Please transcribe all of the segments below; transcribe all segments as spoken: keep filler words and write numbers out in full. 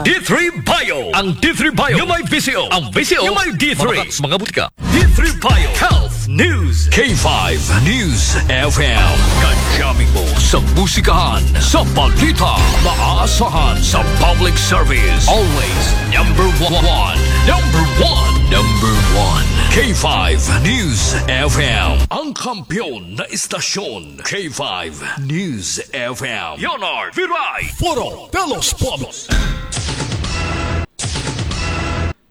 D three Bio. Ang D three Bio yung may V C O. Ang V C O yung may D three. Mabakal sa mga butika. D three Bio Health News. K five News F M. Kajaming mo sa musikahan, sa balita, maaasahan sa public service. Always number one. Number one. Number one. K five News F M. Ang kampiyon na istasyon. K five News F M. Leonard Viray. Foro de los Pueblos.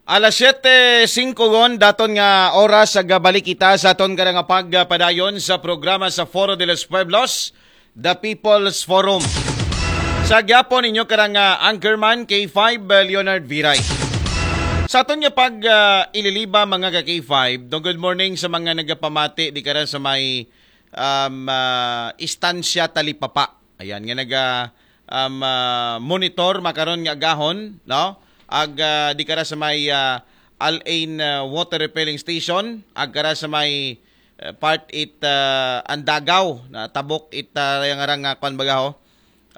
Alas siyete singko gon, daton nga oras sa gabalik kita sa aton karang pagpadayon sa programa sa Foro de los Pueblos, The People's Forum. Sa gyapon ninyo karang, ah, anchorman, K five, ah, Leonard Viray. Sa aton nga pag, ah, ililiba, mga ka K five, do good morning sa mga nagapamati di kara sa may, um, ah, Estancia Talipapa. Ayan, nga naga, um, ah, monitor makaron nga agahon, no? Ag, ah, di kara sa may, ah, Al-Ain, ah, water refilling station, ag kara sa may, ah, part it, ah, Andagaw, na tabok it, ah, yang arang nga kwan baga ho,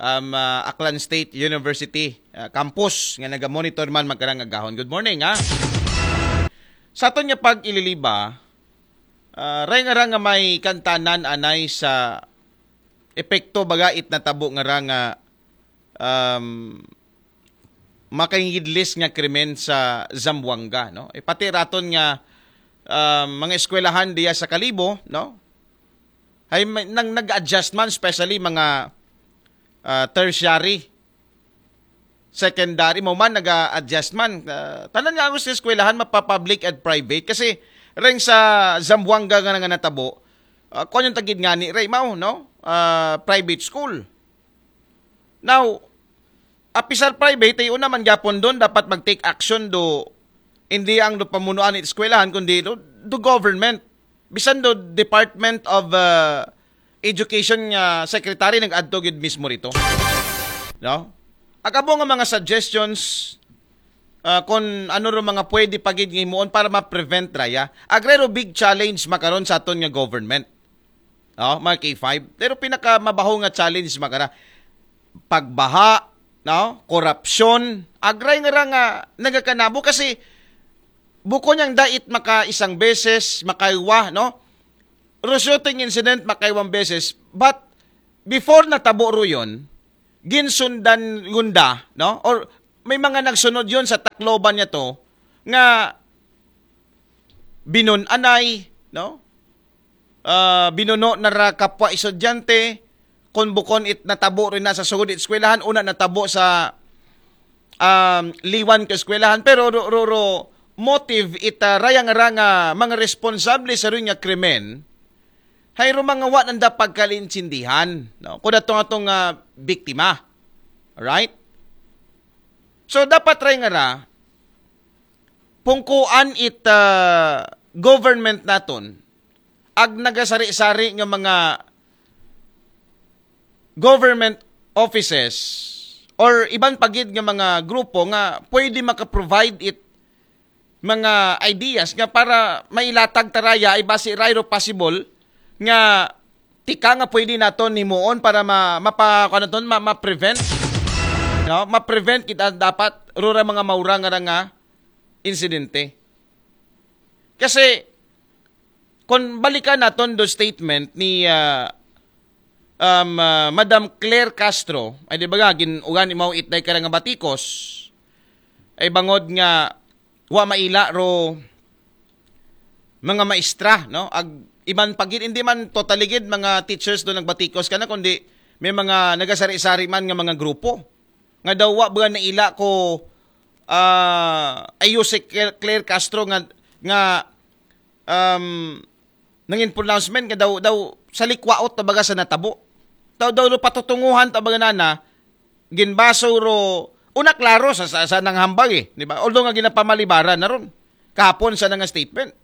um, ah, Aklan State University, ah, campus, nga naga-monitor man magkarang agahon. Good morning, ha? Sa aton nga pag-ililiba, ah, ray nga ra nga may kantanan anay sa epekto baga it natabo nga ra nga, um, makahingidlis nga krimen sa Zamboanga, no? E, pati raton nga, um, mga eskwelahan diya sa Kalibo, no? Ay, may, nang nag-adjust man, especially mga, ah, tertiary, secondary, mo man nag-adjust man. Ah, tanan nga ang eskwelahan, mapa-public at private. Kasi, reng sa Zamboanga nga nga natabo, ah, kung yung tagid nga ni, rey, mao, no? Ah, private school. Now, apisar private, ay una man gyapon doon, dapat mag-take action do, hindi ang do pamunuan ng eskwelahan, kundi do, do government. Bisan do Department of, uh, Education nga secretary nag-adto gid mismo rito. No? Agabo nga mga suggestions, uh, kung ano ro mga pwede pagid nga himuon para ma-prevent raya. Agrero big challenge makaron sa aton nga government. No, mga K five. Pero pinakamabaho nga challenge makara pagbaha, no? Korupsyon, agray nga ra nga nagakanabo kasi buko niyang dait maka isang beses, makaiwa, no? Ro shooting incident makaiwang beses, but before natabo ro yun, ginsundan gunda, no? Or may mga nagsunod yun sa Tacloban niya to, nga binunanay, no? Ah, binuno na ra kapwa estudyante, kung bukon it natabo rin na sa sugod it eskwelahan, una natabo sa, um, liwan ka eskwelahan, pero ro, ro, ro, motive it, ah, rayang ra nga mga responsable sa rin nga krimen, hay ro mga wa nanda pagkalinsindihan, no? Kuda tong atong, ah, biktima. Alright? So, dapat ray nga ra, pungkuan it, ah, government naton, ag nagasari-sari nga mga government offices or iban pagid nga mga grupo nga pwede maka-provide it mga ideas nga para mailatag taraya ay basi rayro possible nga tika nga pwede naton himuon para ma, mapa, kuwan naton, ma, ma-prevent, no? Ma-prevent kita dapat rura mga maura nga ra nga insidente. Kasi kung balikan naton do statement ni, ah, um, ah, Madam Claire Castro, ay di ba nga, gin-, ugan imaw itday ka ra nga batikos, ay bangod nga wa maila ro mga maestra, no? Ag iban pagid, hindi man totally gid mga teachers do nagbatikos kana, kundi may mga nagasari-sari man nga mga grupo. Nga daw wa ba naila ko, ah, ayos si Claire, Claire Castro nga, nga, um, nangin pronouncement nga daw, daw sa likwaot na baga sa natabo. Daw, daw, daw patutunguhan ta baga nana, ginbaso ro, una klaro sa, sa, sa nang hambag eh, di ba? Although nga ginapamalibaran na ron. Kahapon sa nang statement.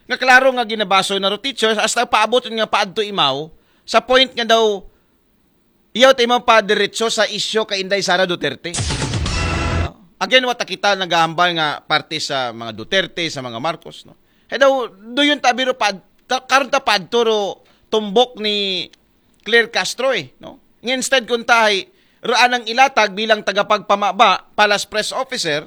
Nga klaro nga ginabaso na ro teachers, hasta paabot nga paadto imaw, sa point nga daw, iyaw tayo pa diretso sa isyo kay Inday Sara Duterte. No? Again, wata kita nagahambal nga parte sa mga Duterte, sa mga Marcos, no? Hey, daw, do yun tabiro pa, ta, karon ta padto ro tumbok ni Claire Castro eh, no? Nga instead kung tahay, ro anang ilatag bilang tagapagpamaba, palas press officer,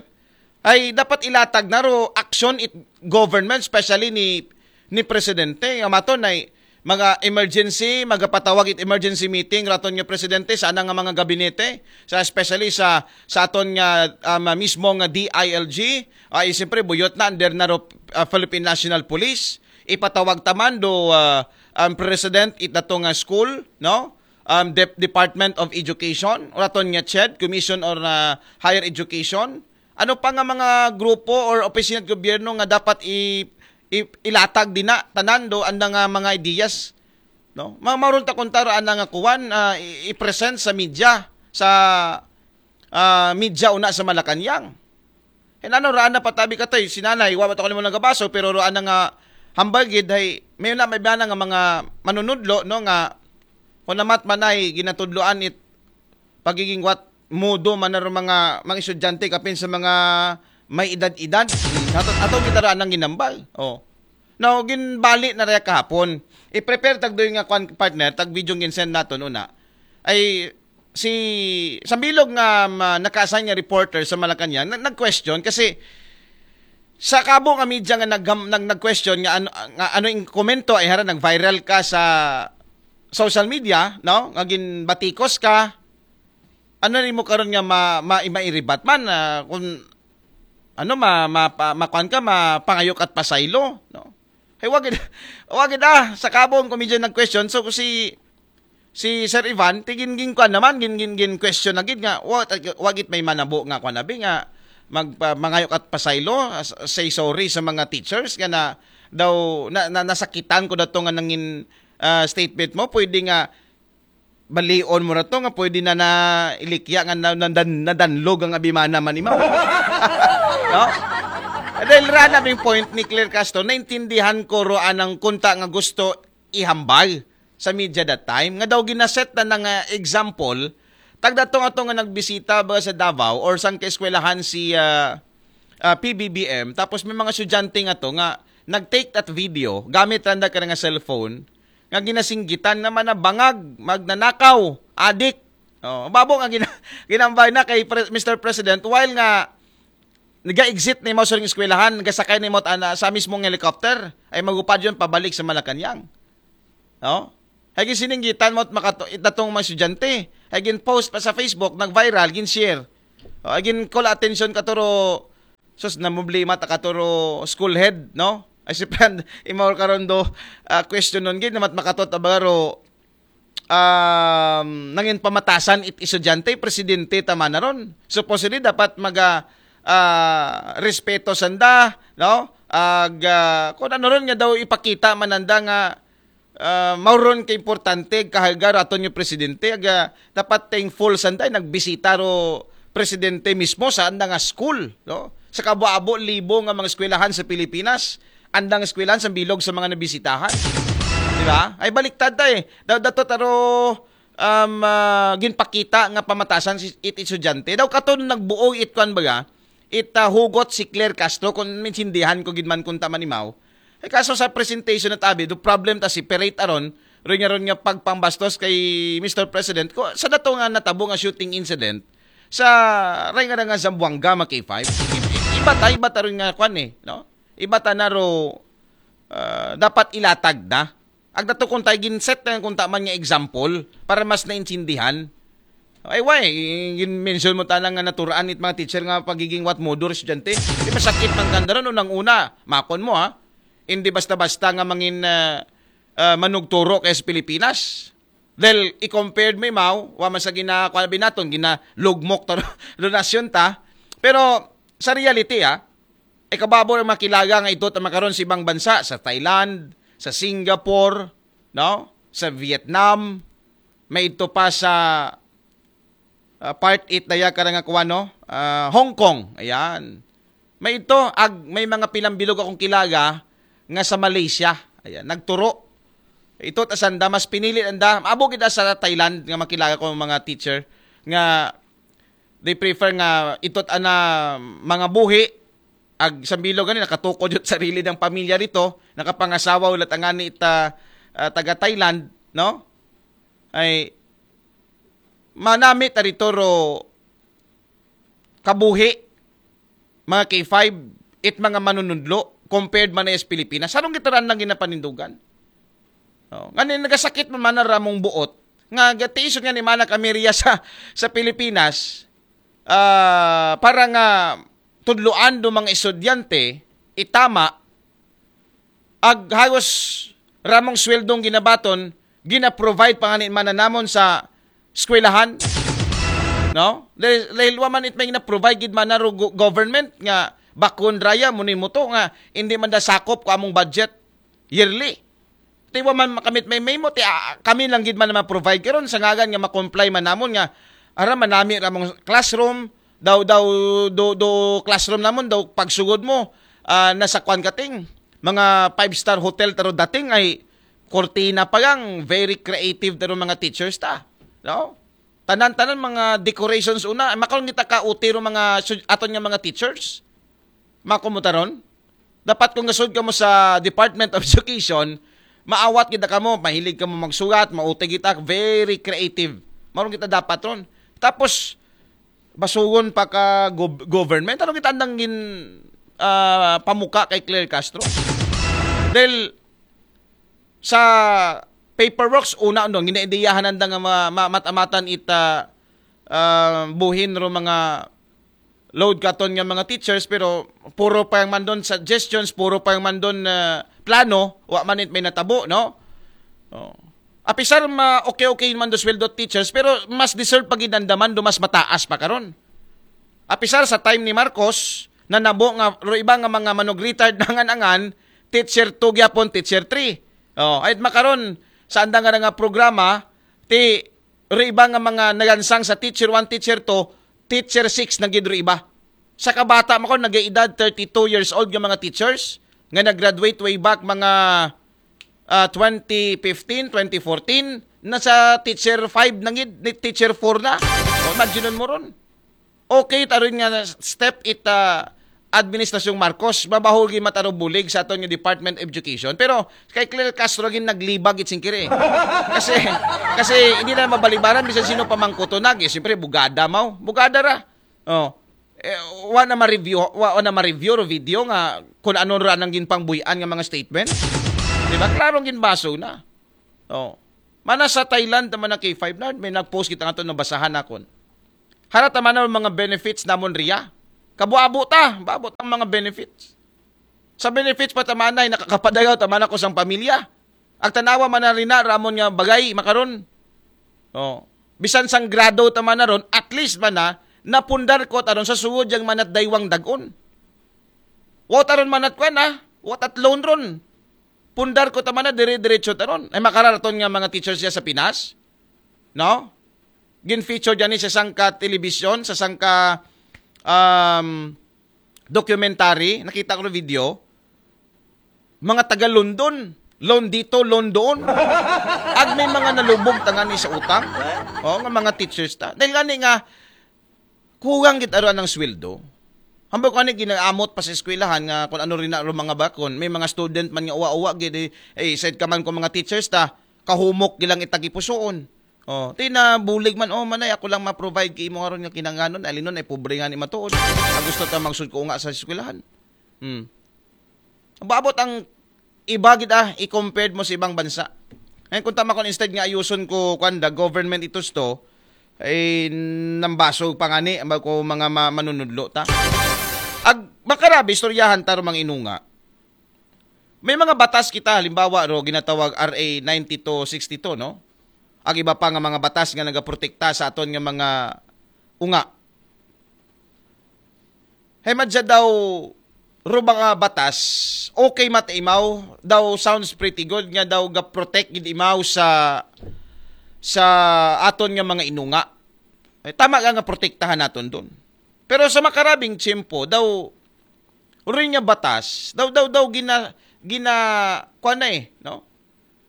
ay dapat ilatag na ro action it government, especially ni ni presidente. Nga maton ay mga emergency, magapatawag it emergency meeting raton nga presidente sa anang nga mga gabinete, sa, especially sa sa aton nga um, mismo nga D I L G. Ay siyempre buyot na under na ro uh, Philippine National Police. Ipatawag taman do uh, um, president it dato nga school, no? Um, Dep- Department of Education, raton nga CHED, Commission on uh, Higher Education. Ano pa nga mga grupo or opisina sa gobyerno nga dapat i, i ilatag din na tanan do anda nga mga ideas, no? Ma maron ta kuntaro ana nga kuwan uh, i-present sa media, sa uh, media una sa Malacañang. Hinano raan na patabi katoy si nanay, wa ba to kanimo nagabaso, pero raan na nga hambal gid hay may na may bana nga mga manunudlo, no, nga kung namat manay ginatudloan it pagiging what mudo man na mga mga estudyante kapin sa mga may edad-edad. Ato ato kita ra nang ginambal. Oh. Now, ginbali na raya kahapon. I-prepare tag doy nga kwan partner, tag video ginsend naton una. Ay si sa bilog nga um, naka-assign nga reporter sa Malacañang, nag-question kasi sa kabo nga media nga nag, nag nag-question nga ano nga ano ing komento ay hara nag-viral ka sa social media, no? Nga ginbatikos ka, ano nimo karon nga ma, ma, mairibat man uh, kung ano ma, ma, pa, makuan ka, mapangayo ka at pasaylo, no? Hay wagid wagid ah sa kabong comedian nag-question. So si si Sir Ivan tigin gin kuan naman gin gin gin question na gid nga wa wagit may manabo nga kuan abi nga mag uh, mangayo ka at pasaylo, uh, say sorry sa mga teachers nga na daw na, na nasakitan ko dato nga nangin uh, statement mo, pwede nga balion mo ra to nga pwede na na ilikya nga na, na, na, nadanlog ang abimana man imaw. No? Dahil ra nabing point ni Claire Castro, naintindihan ko ro anang kunta nga gusto ihambal sa media that time. Nga daw ginaset na nga example, tagdatong ato nga nagbisita ba sa Davao or sang kaeskwelahan si uh, uh, P B B M, tapos may mga estudyante nga to nga nag-take that video gamit randa ka nga cellphone nga ginasinggitan naman na bangag, magnanakaw, adik. Oh, babo nga gina, ginambay na kay Pre, Mister President while nga naga-exit ni mo sa eskwelahan, nagasakay ni mo ana sa mismong helicopter, ay magupad yun pabalik sa Malacañang. No? Ay ginsininggitan mo makato itatong mga estudyante. Ay gin-post pa sa Facebook, nag-viral, gin-share. O, ay gin-call attention katuro sus na problema ta katuro school head, no? Ay si friend, imaw karon do uh, question nun gid namat makatot abaro um, nangin pamatasan it estudyante, presidente tama na ron. Supposedly dapat maga uh, respeto sanda, no? Ag uh, kung ano ron nga daw ipakita mananda nga uh, mauron ka importante kahalga raton yung presidente, aga dapat thankful sanda nagbisita ro presidente mismo sa anda nga school, no? Sa kabo-abo libo nga mga eskwelahan sa Pilipinas, andang eskwelahan sa bilog sa mga nabisitahan. Di ba? Ay baliktad ta eh. Daw dato taro um, uh, ginpakita nga pamatasan si it estudyante. Daw katon nagbuo it kwan baga, it uh, hugot si Claire Castro kung minsindihan ko gid man kung tamanimaw. Ay kaso sa presentation at abi, do problem ta separate aron ron nga ron nga pagpambastos kay Mister President ko sa dato nga natabo nga shooting incident sa ray nga nga Zamboanga mga K five. Iba ta iba ta ron nga kwan eh, no? Iba ta na ro uh, dapat ilatag na. Ag dato kung tayo ginset na kung taman nga example para mas naintindihan. Ay why, gin-mention mo tanang nga naturaan it mga teacher nga pagiging what modo estudyante. Di masakit man kandaran unang una, makon mo ha. Hindi basta-basta nga mangin uh, uh, manugturo kay sa Pilipinas. Dahil i-compared mo imaw, wa man sa ginakuha binaton, ginalugmok to donasyon ta. Pero sa reality ha, ikababo ang makilaga nga ito makaron sa ibang bansa, sa Thailand, sa Singapore, no? Sa Vietnam, may ito pa sa uh, part eight daya ka nga kuwano, uh, Hong Kong. Ayan. May ito, ag, may mga pilambilog akong kilaga nga sa Malaysia. Ayan, nagturo. Ito ta sanda mas pinili anda. Abo kita sa Thailand nga makilaga ko mga teacher nga they prefer nga itot ana mga buhi ag sambilo gani nakatukod yung sarili ng pamilya rito, nakapangasawa ulit ang ani ita uh, taga Thailand, no? Ay manami ta rito ro kabuhi, mga K five, it mga manunudlo, compared man na sa Pilipinas. Anong gitaran lang ginapanindugan? Oh, nga ni nagasakit man man na ramong buot, nga gatiisod nga ni mana kami riya sa, sa Pilipinas, ah, para nga tudloan do mga estudyante, itama, ag hagos ramong sweldong ginabaton, gina-provide pa nga ni mana namon sa eskwelahan. No? Dahil, dahil wa man it may na-provide gid man na ro go-, government nga bakon raya, muni mo to nga hindi man da sakop ko among budget yearly. Ti wa man makamit may memo, ti, ah, kami lang gid man na ma-provide karon sa ngagan nga ma-comply man namon nga ara manami ramong classroom, daw, daw, do, do classroom namon, daw pagsugod mo, ah, nasa kwan kating, mga five-star hotel taro dating ay kortina pa lang, very creative taro mga teachers ta. No? Tanan-tanan mga decorations una, makaron kita ka utiro mga su-, aton nga mga teachers. Makumutaron? Dapat kung gasud ka mo sa Department of Education, maawat kita ka mo, mahilig ka mo magsulat, mauti kita, very creative. Maron kita dapat ron. Tapos, basugon pa ka gov-, government. Ano kita andang gin, ah, pamuka kay Claire Castro? Dahil sa paperworks, una, no, ginaidiyahan nanda nga ma-, ma-, matamatan ita, ah, buhin ro mga load katon nga mga teachers, pero puro pa yung mandon suggestions, puro pa yung mandon na plano, wa man it may natabo, no? Oh. Apisar ma okay-okay man do sweldo teachers, pero mas deserve pa gid nanda man do mas mataas pa karon. Apisar sa time ni Marcos, nanabo nga ro iba nga mga manog retired nangan-angan, teacher two gyapon, teacher three. Oh, ay makaron sa anda nga nga programa, ti ro iba nga mga nagansang sa teacher one, teacher two, teacher six na gid ro iba. Sa kabata mo ko, nag-edad thirty-two years old nga mga teachers nga nag-graduate way back mga, ah, twenty fifteen, twenty fourteen, nasa teacher five na gid, ni teacher four na. O, imagine mo ron. Okay, taron nga step it, ah, administrasyong Marcos, mabahul gid mataro bulig sa aton nga Department of Education. Pero kay Claire Castro gid naglibag it singkiri. Kasi, kasi hindi na mabalibaran bisan sino pamangkuto na. Eh, siyempre, bugada mo. Bugada ra. Oh. Eh, wa na ma-review, wa, wa na ma-review ro video nga kung ano ra nang ginpangbuyan nga mga statement. Di ba? Klarong ginbaso na. Oh. Mana sa Thailand naman ang K five na, may nag-post kita nga to nabasahan akon. Hara ta man ang mga benefits namon riya. Kabuabo ta, baabo ta ang mga benefits. Sa benefits pa tamanay, nakakapadayaw taman ako sang pamilya. Ag tanawa man na rina, ramon nga bagay, makaron. Oh. Bisan sang grado taman na ron, at least man na, napundar ko taron sa suod yang manat daywang dagon. Wa taron manat kwan, ah. Wa tat loan ron. Pundar ko taman na, dire-diretso taron. Ay makararaton nga mga teachers siya sa Pinas. No? Gin-feature dyan sa sangka telebisyon, sa sangka, um, documentary, nakita ko ng video, mga taga London, loan dito, loan doon. Ag may mga nalubog tangani sa utang. Oh, nga mga teachers ta. Dahil gani nga, kuwang gid aruan ng sweldo. Hambal ko ani ginaamot pa sa eskwelahan nga kung ano rin na ro mga bakon, may mga student man nga uwa-uwa gid, eh, eh, said ka man ko mga teachers ta, kahumok gilang itagi pusoon. Oh, ti na bulig man, oh, manay, ako lang ma-provide kay imo aron nga kinanganon, alinon ay pobre nga ni matuod. Ang gusto ta magsud ko nga sa eskwelahan. Hmm. Baabot ang iba gid, ah, i-compared mo sa ibang bansa. Ngayon, kung tama ko, instead nga ayuson ko, kwan, the government itos to, ay nambasog pa nga ni, ang ko mga ma-, manunudlo ta. Ag makarabi, istoryahan ta ro mga inunga. May mga batas kita, halimbawa ro, ginatawag R A ninety-two sixty-two, no? Ag iba pa nga mga batas nga nagaprotekta sa aton nga mga unga. Hay madya daw, ro mga batas, okay mat imaw, daw sounds pretty good, nga daw ga-protect gid imaw sa, sa aton nga mga inunga. Eh, tama nga nga protektahan naton doon. Pero sa makarabing tiyempo, daw, rin nga batas, daw, daw, daw, gina, gina, kuwan na eh, no?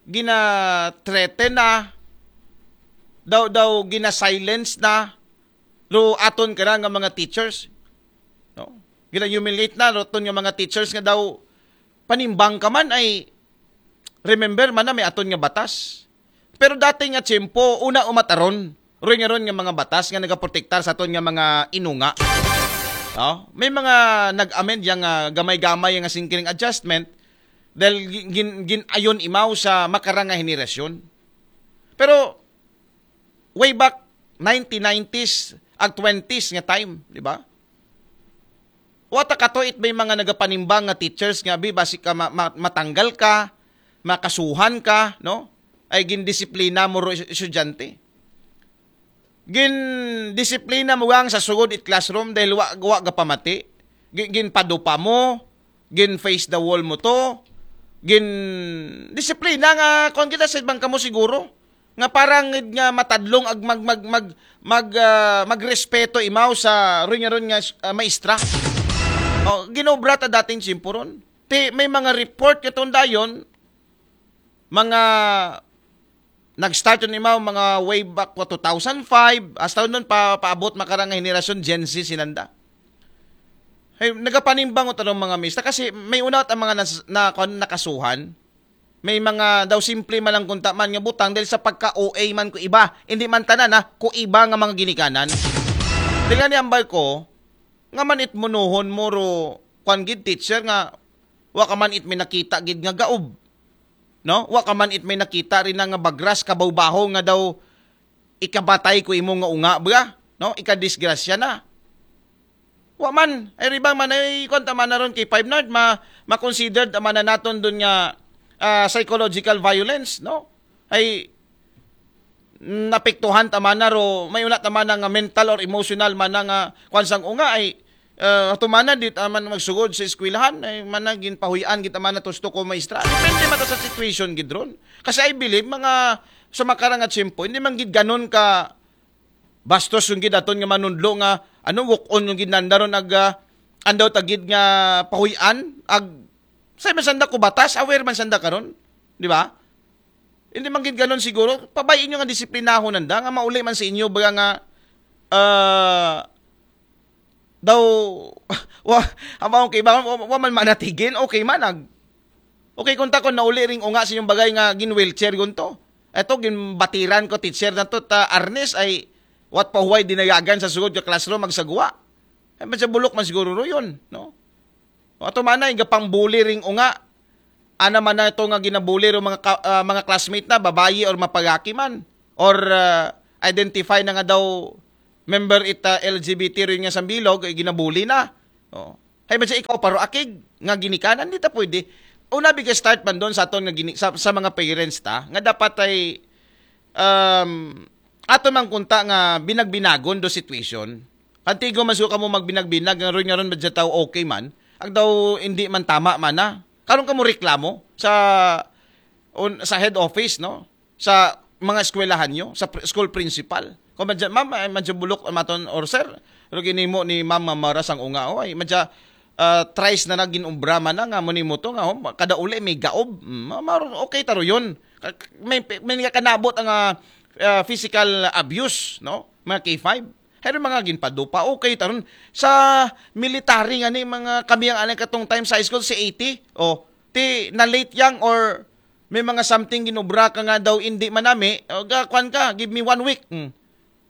Gina-threaten na, daw, daw, gina-silence na, lo aton ka na nga mga teachers, no? Gina-humiliate na, lo aton nga mga teachers nga daw, panimbang ka man ay, remember man na may aton nga batas. Pero dati nga tiyempo, una umataron, Ron nga ron nga mga batas nga nagaprotektar sa aton nga mga inunga. Oh, may mga nag-amend yang ah, gamay-gamay nga singkiring adjustment dahil gin, gin, gin-ayon imaw sa makarang nga henerasyon. Pero way back nineteen nineties ag twenties nga time, di ba? Wa ta katuit may mga nagapanimbang nga teachers nga bi basi ka ma- ma- matanggal ka, makasuhan ka, no? Ay gindisiplina mo ro es- estudyante. Gindisiplina mo gang sa sugod it classroom dahil wa wa gapamati. Gi- Ginpadupa mo, gin face the wall mo to. Gin disiplina nga kon kita sa ibang kamo siguro nga parang nga matadlong ag mag mag mag mag ah, magrespeto imaw sa ron nga ron nga ah, maestra. O, ginobra ta dating tiyempo ron. Ti may mga report katong dayon, mga nag-start yun imaw mga way back two thousand five, hasta nun pa, paabot makarang nga henerasyon Gen Z sinanda. Ay, nagapanimbang ko tanong mga mista kasi may una ang mga nas, na, kuwan, nakasuhan. May mga daw simple man lang kunta man nga butang dahil sa pagka-O A man ko iba. Hindi man tanan ha, ko iba nga mga ginikanan. Dila ni ambal ko, nga man it munuhon mo ro kwan gid teacher nga wa ka man it may nakita gid nga gaob. No? Wa ka man it may nakita rin na nga bagras kabawbaho nga daw ikabatay ko imo nga unga ba? No? Ikadisgrasya na. Wa man, ay ribang man ay kwan tama na ron kay five nard ma ma-considered tama na naton dun nga ah, psychological violence, no? Ay napektuhan tama na ro, may una tama na nga mental or emotional man na nga kwan sang unga ay uh, tumana di taman magsugod sa eskwelahan ay mana ginpahuyan gid tama na tusto ko maestra. Depende man ta sa situation gid ron. Kasi I believe mga sa makarang at simpo, hindi man gid ganon ka bastos yung gid aton nga manunlo nga ano walk on yung gid nanda ron ag ah, andaw tagid nga pahuyan ag sa man sanda ko batas, aware man sanda karon, di ba? Hindi man gid ganon siguro, pabayin nyo nga disiplinahon nanda nga mauli man sa inyo baga nga ah, daw wa amao kay ba wa, wa man manatigin, okay man ag okay kung takon nauli ring unga sa inyong bagay nga gin wheelchair gunto. Eto ginbatiran ko teacher na to ta arnes ay wat pahuway dinayagan sa sugod ka classroom magsagwa. Ay man sa bulok man siguro ro yun, no? O ato man na igapang bully ring unga. Ana man na ito nga ginabuli ro mga ka- ah, mga classmate na babayi or mapagaki man or ah, identify na nga daw member ita L G B T rin nga sambilog ay ginabuli na. Oh. Hay man siya ikaw paro akig nga ginikanan di ta pwede. Una biga start man doon sa aton nga gini, sa, sa mga parents ta nga dapat ay um, ato man kunta nga binagbinagon do situation. Antigo man siguro kamo magbinagbinag nga ron nga ron madya tao okay man. Ag daw hindi man tama man na. Karon kamo reklamo sa on, sa head office no sa mga eskwelahan nyo, sa pr- school principal. Kung madya, ma'am, ay madya bulok ang maton or sir, pero ginimo ni ma'am nga maras ang unga, oh, ay madya uh, tries na naging obra man na nga mo nimo to nga oh, kada uli may gaob. Mm, ma- ma- okay taro yun. Ka- May, may nga kanabot ang ah, ah, physical abuse, no? Mga K five. Pero mga ginpadupa, okay taron sa military nga ni mga kami ang anay katong time sa high school si eighty. Oh, ti na late yang or may mga something ginobra ka nga daw hindi manami, o ga kwan ka, give me one week. Hmm.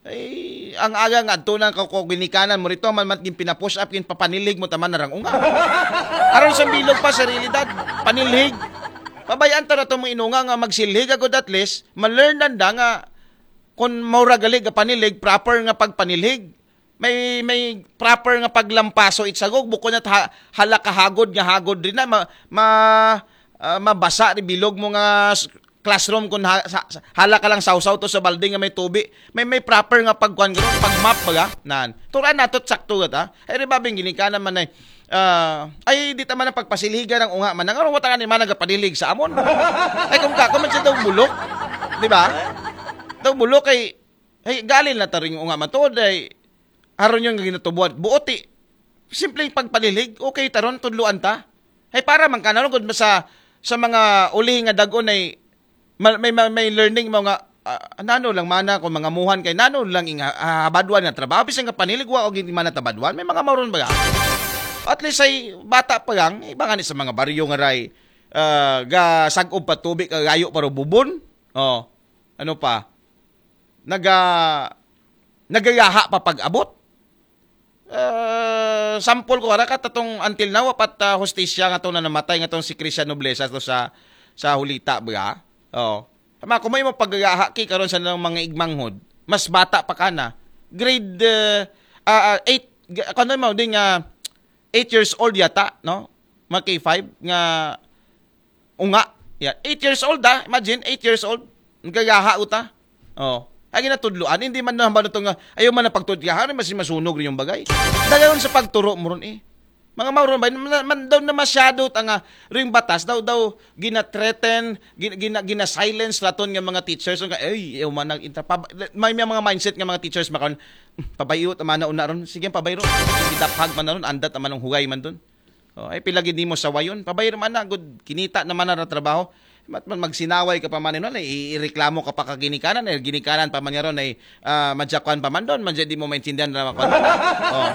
Ay, ang aga nga adto na ka ko ginikanan mo rito man mat gin pinapush up gin papanilig mo taman narang unga. Aron sa bilog pa sa realidad, panilhig. Pabayaan ta na to mo inunga nga magsilhig agud at least ma-learn nanda nga kung maura gali ga panilig proper nga pagpanilig may may proper nga paglampaso itsagog bukod na ha, hala kahagod nga hagod rin na ma, ma ah, mabasa ri bilog mo nga s- classroom kun ha, sa, sa- hala ka lang sawsaw to sa balde nga may tubi may may proper nga pagkuan garo pag map baga nan turan nato sakto gata ay ri babing gini ka naman ay ah, ay di ta man ang pagpasiligan ang unga man nga wata ni man nagapadilig sa amon ay kung kako man siya daw bulok di ba daw bulok kay ay galin na taring unga man to day aron yun nga ginatubuan buoti simpleng pagpanilig okay taron tudluan ta ay para man kanon gud sa sa mga uli nga dagon ay ma- may may, may learning mo nga ah, nano lang mana kung mga muhan kay nano lang inga ah, habadwan nga trabaho bisan nga panilig wa og hindi man tabadwan may mga mauron ba at least ay bata pa lang iba nga ni sa mga baryo nga ray ah, ga sag-ob pa tubig kagayo para bubon oh ano pa naga nagayaha pa pag-abot. Uh, sample ko ara ka tatong until now, apat uh, hostisya nga tong namatay nga tong si Christian Noblesa to sa sa Hulita ba. Oh. Tama ko may mo pagayaha ki karon sa nang mga igmanghod. Mas bata pa kana. Grade uh, uh, eight, kano mo ding uh, eight years old yata, no? Mga K five nga unga. Yeah, eight years old ah. Imagine, eight years old. Nagagaha uta. Oh. Ay ginatudluan, hindi man nahambal nito nga ayaw man na pagtudyahan, mas masunog rin yung bagay. Dayon sa pagturo mo ron eh. Mga mauron ba, man, man daw na masyado ta nga ring batas daw daw gina-threaten, gina, gina, gina-silence raton nga mga teachers nga ay ayaw man nag intra pa, may, may mga mindset nga mga teachers makon pabayo ta man na una ron, sige pabayro, gidaphag man na ron, andat naman ang hugay man doon. Oh, ay pila gid nimo sawayon. Pabay man na gud kinita naman na trabaho. Mat man magsinaway ka pa man nun, ay ireklamo ka pa ka ginikanan, ay ginikanan pa man niya ron, ay ah, madyakuan pa man doon, madya di mo maintindihan na makon. Oh.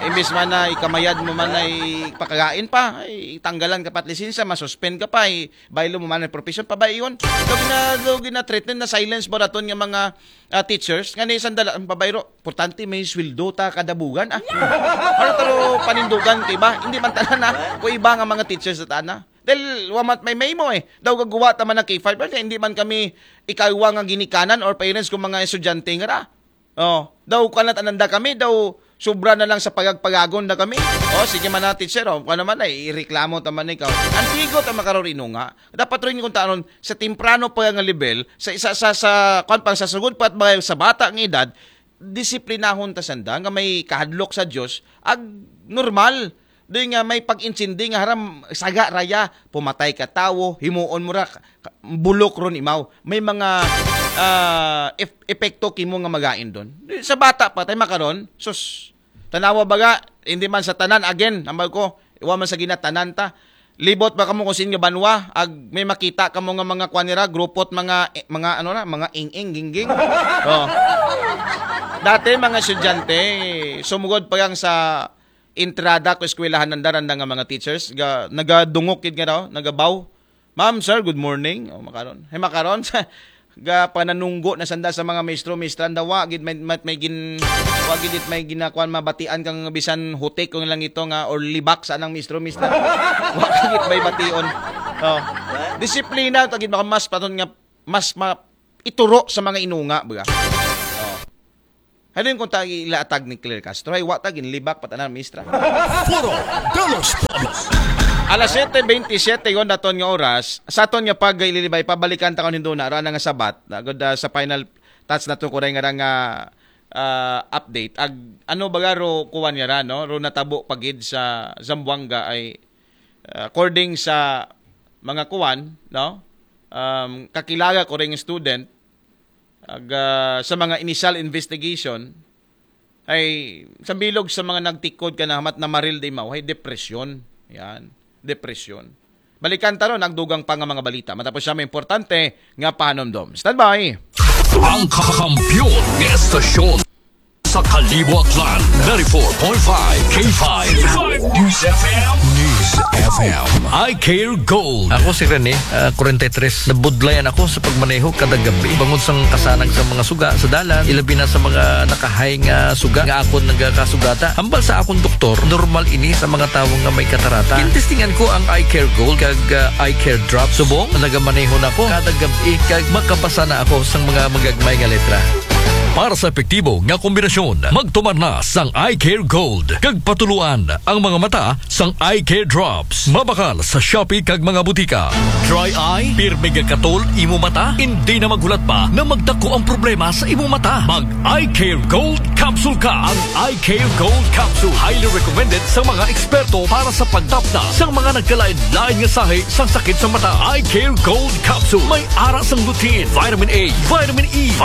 Imbis man na ikamayad mo man ay pakagain pa, ay tanggalan ka pa at lisensya, masuspend ka pa, ay baylo mo man ang profession, pabayon. Daw gina, daw gina-threaten na silence mo raton nga mga ah, teachers, nga ni sandala ang pabayro, importante may sweldo ta kada buwan. Ah. Ano taro panindugan kay ba? Hindi man tanan na. Ko iba nga mga teachers sa tana. Dahil wamat may may mo eh. Daw gagawa ta man ng K five, pero hindi man kami ikawa nga ginikanan or parents kung mga estudyante nga ra. Oh, daw kanat ananda kami, daw sobra na lang sa pagagpagagon na kami. Oh, sige man na teacher, oh, kung naman ay ireklamo ta man ikaw. Antigo ta makarorino nga. Dapat rin kung taon sa temprano pa nga level, sa isa sa sa kwan pang sa sugod pa at mga sa bata nga edad, disiplinahon ta sanda nga may kahadlok sa Dios ag normal. Di nga may pag-intindi nga haram saga raya pumatay ka tawo, himuon mo ra ka- bulok ron imaw. May mga ah, ep- epekto kimo nga magain doon. Di, sa bata pa tay makaron, sus. Tanawa baga, hindi man sa tanan again, ambal ko, iwa man sa ginatanan ta. Libot ba kamo kung sin nga banwa, ag may makita kamo nga mga kwan nira, grupot mga eh, mga ano na, mga ing-ing gingging. Oh. Dati mga estudyante, sumugod pa yang sa entrada ko eskwelahan ng daranda nga mga teachers, ga, nagadungok kid nga daw, nagabaw. Ma'am, sir, good morning. Oh, makaron. Hey, makaron. Ga pananunggo na sanda sa mga maestro, mistra, nda wa gid may, may, may gin wa gid it may ginakuan mabatian kang bisan hutik kung lang ito nga or libak sa anang maestro, mistra. Wa gid may bation. Oh. Disiplina ta gid baka mas paton nga mas ma, ituro sa mga inunga, baga. Oh. Halin kung ta ilaatag ni Claire Castro, ay wa ta ginlibak pa tanan, mistra. Foro de los Pueblos. Alas siyete bentisiete yon naton nga oras. Sa aton nga pag-ililibay, pabalikan ta kon hinduna ra na nga sabat. Nagod ah, sa final touch na to kuray nga ra nga ah, update. Ag ano ba ro kuwan nga ra, no? Ro natabo pagid sa Zamboanga ay ah, according sa mga kuwan, no? Um, kakilala ko ring student, ag, ah, sa mga initial investigation, ay sa bilog sa mga nagtikod ka na hamat na maril di mao, ay depresyon. Yan, depresyon. Balikan ta ron ang dugang pa nga mga balita. Matapos siya may importante nga pahanumdom. Standby! Ang kakampiyon nga estasyon sa Kalibo Aklan, ninety-four point five K five News F M. News F M. I Care Gold. Ako si Rene, ah, forty-three. Nabudlayan ako sa pagmaneho kada gabi. Bangod sa kasanag sa mga suga sa dalan, ilabi na sa mga nakahay nga suga nga akon nagakasugata. Hambal sa akong doktor, normal ini sa mga tawo nga may katarata. Gintestingan ko ang Eye Care Gold kag ah, Eye Care Drop. Subong, nagamaneho na ko kada gabi kag makabasa na ako sa mga magagmay nga letra. Para sa epektibo nga kombinasyon, magtumar na sang Eye Care Gold kag patuluan ang mga mata sang Eye Care Drops. Mabakal sa Shopee kag mga butika. Dry eye, pirmi nga katol imo mata, hindi na maghulat pa na magdako ang problema sa imo mata. Mag Eye Care Gold Capsule ka. Ang Eye Care Gold Capsule highly recommended sa mga eksperto para sa pagtapna sa mga nagkalain-lain nga sahi sang sakit sa mata. Eye Care Gold Capsule may ara sang lutein, vitamin A, vitamin E, vitamin